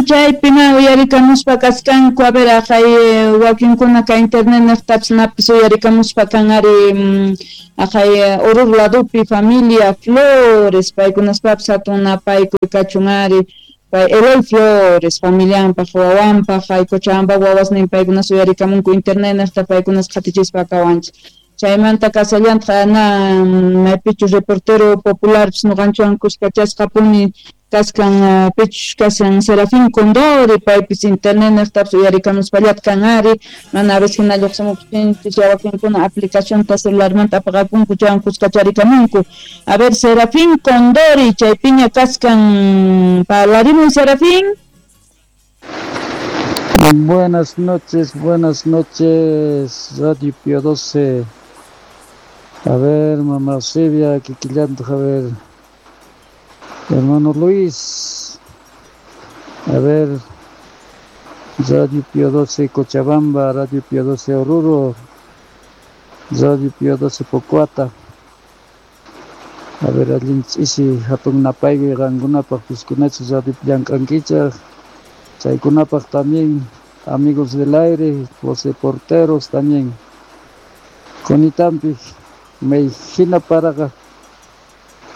Chaypina uyarikamuspa kaskanku, a ver, aqhay wakinkuna ka internet niqtapis napis uyarikamuspa kan ari aqhay Oruro ladopi familia Flores, paykunaspapis hatun napaykuy kachun ari. Pay Eloy Flores, familianpaq, wawanpaq, hay Cochabamba wawasnin paykunas uyarikamunku internet niqta paykunas qhatichispa kawanchik. Chaymanta kasallantaq na maypichu reportero popularpis ñuqanchikwan kuskachasqapuni kaskan pichus kashan Serafín Condori, paypis internet niqtapis uyarikamuspallata kan ari, mana a veces hina lluqsimuqtinchis wakinkuna aplicacionta celularmanta apaqapunku chaywan kuskacharikamunku. A ver, Serafín Condori, chaypiña kaskan, parlarimuy Serafín. Buenas noches, Radio Pío 12. A ver, mamá Silvia, Kikillanto, a ver, hermano Luis, a ver, Radio Pío 12 Cochabamba, Radio Pío 12 Oruro, Radio Pío 12 Pocoata. A ver, allin ch'isi hatun napaykuy qankunapaq piskunachu Radio llank'ankichaq, chaykunapaq también amigos del aire, los reporteros también. Kunitampi may hina paraqa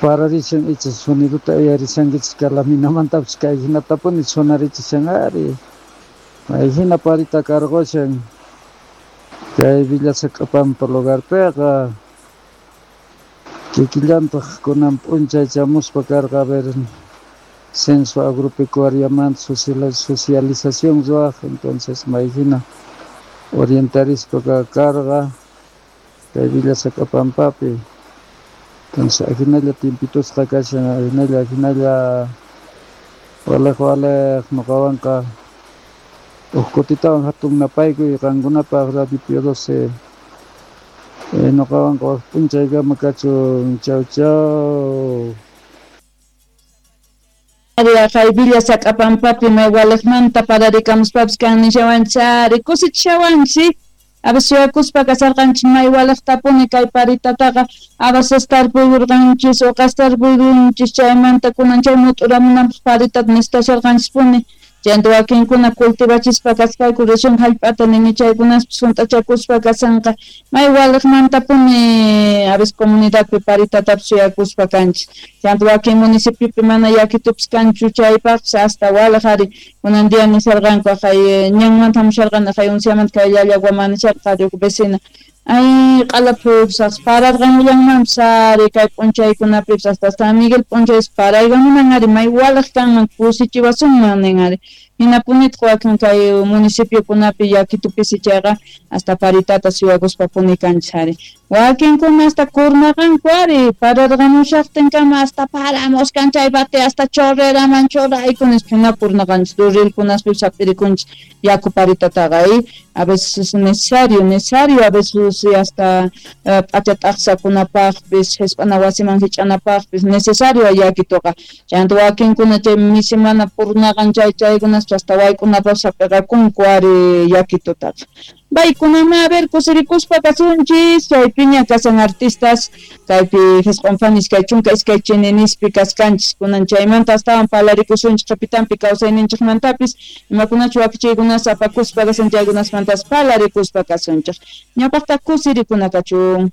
pararishan icha soniduta uyarishankichik kalaminamantapis kay hinatapuni sonarichishan ari. May hina parita karqushan kay Villa Sacapampa lugarpiqa. Kikillantaq kunan p'unchay chamuspa karqa, a ver, censo agropecuariamanta socialización ruwaq, entonces may hina orientarispa karqa kay Villa Sacapampapi. Entonces ajinalla timpitusqa kashan, ajinalla ajinalla waliq waliq ñuqawanqa huk kutitawan hatun napaykuy qankunapaq Radio Pío 12. Ñuqawanqa wak p'unchaykama kachun. Chau chau. Aqhay Villa Sacapampapi may waliqmanta pararikamuspapis kan nishawanchik ari kusichishawanchik. A veces suyakuspa kasarqanchik may waliqtapuni kay paritataqa a veces tarpuykurqanchis uqas tarpuykunchis chaymanta kunan chay mut'uramunanpaq paritata necesitasharqanchispuni. Chayanta wakinkuna cultivachispa kaspayku recién hallp'ata nini chaykunaspis hunt'achakuspa kasanqa may waliqmantapuni a veces comunidadpi paritatapis suyakuspa kanchik. Chayanta wakin municipiopi mana yakitupis kanchu chaypaqpis hasta waliq ari kunan día nisharqanku aqhay ñanmanta hamusharqani aqhay unciamanta kay Llallagua nisharqa huk vecina. Ay, q'alapupis pararqamullanmanpis ari kay p'unchaykunapipis hasta San Miguel p'unchaypis paraykamunan ari may waliq kanman kusichiwasunman nin ari. Hinapunitaq wakin kay municipiokunapi yakitupisi chayqa hasta paritata suyakuspapuni kanchik ari. Wakinkuna hasta kurnaqanku ari pararqamushaqtinkama hasta paramuskan chay bate hasta chorreraman churayku nispa hina kurnaqanchik rirkunaspipis hap'irikunchik yaku paritataqa a veces es necesario a veces hasta p'acha t'aqsakunapaqpis hisp'ana wasiman hich'anapaqpis necesario yakituqa. Chayanta wakinkuna chay misimana purnaqan chay chaykunas hasta wayk'unapaqpis hap'iqakunku ari yakitutaqa. Baykunama a ver kusirikuspa kasunchis chaypiña kasan artistas kaypi hisq'unfanis kay chunka iskay chininispi kaskanchis kunan chaymanta astawan parlarikusunchik qhipitanpi kawsayninchikmantapis imakunachu wakichiykunas apakuspa kasan chaykunasmantas parlarikuspa kasunchik. Ñawpaqta kusirikuna kachun.